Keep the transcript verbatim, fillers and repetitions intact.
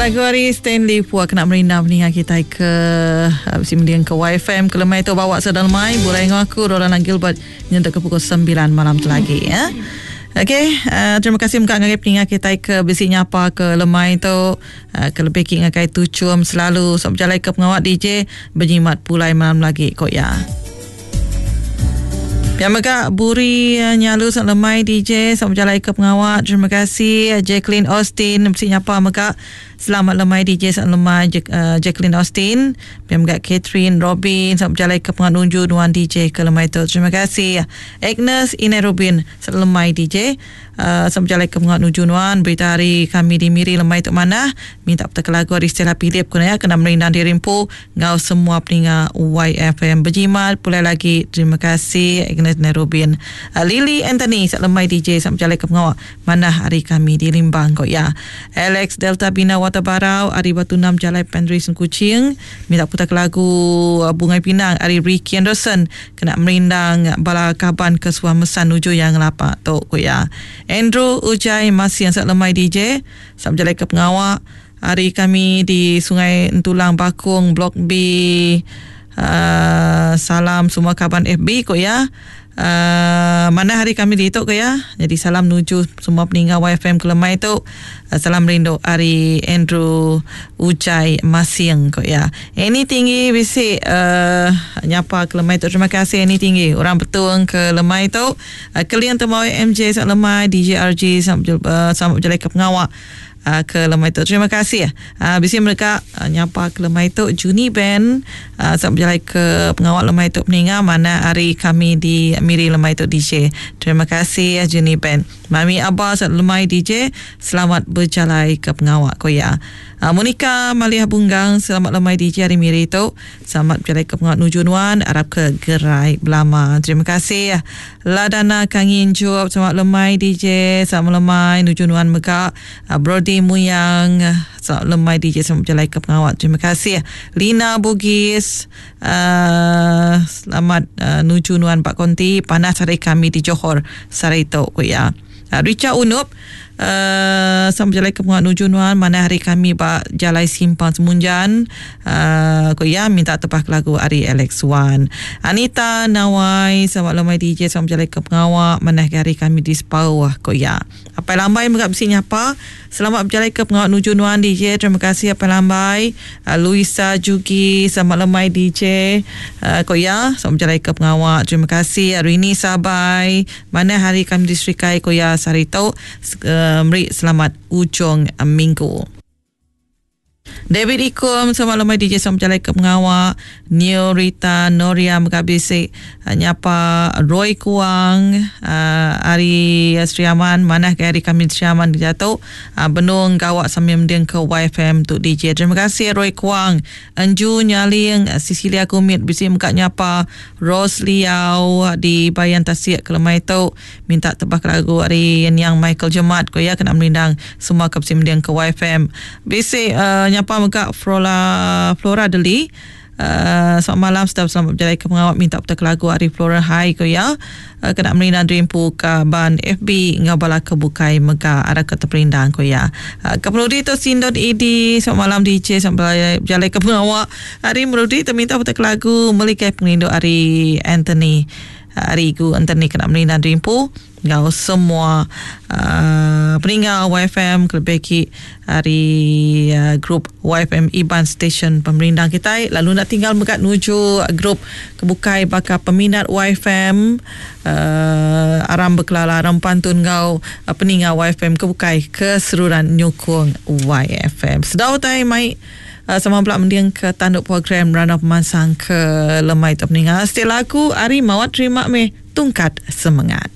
Lagu ari Stanley Pua kena merindang peninga kitai ke bisi mending ke Y F M ke lemai tu bawa sedang lemai burai enggau aku Rolanda Gilbert nyentuk ke pukul sembilan malam tu lagi ya. Okey, uh, terima kasih mega ngagai peninga kitai ke bisi nyapa ke lemai tu uh, ke lebih ki ngagai tuchum selalu sok berjalai ke pengawak D J berjimat pulai malam lagi kok ya. Yang mega Buri nyalu sok lemai D J sok berjalai ke pengawak. Terima kasih Jacqueline Austin bisi nyapa mega. Selamat lemai D J sok lemai Jacqueline Austin. Yang mega Catherine Robin sok berjalai ke pengawak nunju nuan D J ke lemai tu. Terima kasih Agnes Inai Robin sok lemai D J uh, sok berjalai ke pengawak nuju nuan. Berita hari kami di Miri lemai tu mana minta petaka lagu ari Stella Philip kena ya kena merindang diri empu ngau semua peninga Y F M berjimat pulai lagi. Terima kasih Agnes Inai Robin. Uh, Lily Anthony sok lemai D J sok berjalai ke pengawak mana hari kami di Limbang kok ya. Alex Delta Bina Wata Barau ari Batu Enam Jalai Pandri Kuching minta putar lagu Bungai Pinang ari Ricky Anderson kena merindang bala kaban ke suah mesan nuju yang lapak tu ku ya. Andrew Ujai masih yang sak lemai D J sak berjalai ke pengawak hari kami di Sungai Entulang Bakung Blok B. Uh, salam semua kaban F B ku ya. Uh, mana hari kami di itu ke ya. Jadi salam nuju semua peninggal Y F M kelemai tu. Uh, salam rindu hari Andrew Ujai Masing ko ya. Ini tinggi bisi uh, nyapa kelemai tu. Terima kasih ini tinggi. Orang betul ke lemai tu. Uh, kalian temui M J sak lemai D J R G sampai uh, sampai berjalan ke pengawak uh, ke lemai tu. Terima kasih. Uh, bisi mereka uh, nyapa ke lemai tu Juni Ben uh, sampai berjalan ke pengawak lemai tu peninga mana hari kami di Miri lemai tu D J. Terima kasih Juni Ben. Mami Abah lemai D J selamat berjalan ke pengawak ko ya. Uh, Monica Maliah Bunggang selamat lemai D J hari Miri tu. Selamat berjalan ke pengawak nuju nuan arab ke gerai belama. Terima kasih. Ladana Kangin Job selamat lemai D J selamat lemai nuju nuan mega. Uh, Brody Muyang selamat lemai D J selamat berjalan ke pengawak. Terima kasih. Lina Bugis uh, selamat uh, nuju nuan Pak Konti panas hari kami di Johor Sarito ko ya. Uh, Richard Unup uh, selamat berjalan ke pengawak nuju nuan mana hari kami ba Jalai Simpang Semunjan uh, ko ya minta tepah lagu ari Alex Wan. Anita Nawai selamat lemai D J selamat berjalan ke pengawak mana hari kami di Sepauh ko ya. Apai Lambai mega bisi nyapa selamat berjalan ke pengawak nuju nuan D J. Terima kasih Apai Lambai. Uh, Luisa Jugi selamat lemai D J uh, ko ya selamat berjalan ke pengawak. Terima kasih Rini Sabai mana hari kami di Serikai ko ya Sarito uh, meri selamat ujung minggu. David Ikum selamat lemai D J selamat berjalan ke pengawak. Neo Rita Noria Megabisi nyapa Roy Kuang uh, Ari Sri Aman manah ke hari kami Sri Aman jatuh uh, benung gawak sambil mending ke Y F M untuk D J. Terima kasih Roy Kuang. Enju Nyaling Cecilia Kumit bisi muka nyapa Rose Liau di Bayan Tasik ke lemai tu minta tebak lagu ari yang Michael Jemat ko ya kena merindang semua ke bisi mending ke Y F M. Bisi uh, nyapa mega Flora Flora Deli. Uh, selamat malam setiap selamat berjalan ke pengawak minta putar lagu ari Flora Hai ko ya. Uh, kena merindang dreampu ke ban F B ngau bala ke bukai mega ada ke terperindang ko ya. Uh, ke Meludi tu Sindon E D selamat malam D J selamat berjalan ke pengawak hari Meludi tu minta putar lagu Melikai Pengerindu ari Anthony. Hari ku Anthony kena merindang dreampu ngau semua uh, peninggal Y F M kelebih hari uh, grup Y F M Iban Station pemerindang kita lalu nak tinggal megat nuju grup kebukai bakal peminat Y F M uh, aram berkelala aram pantun ngau uh, peninggal Y F M kebukai keseluruhan nyukung Y F M. Sedau tai mai uh, sama pula mendiang ke tanduk program Rana Pemansang ke lemai tu peninggal. Setiap lagu hari mawat terima me tungkat semangat.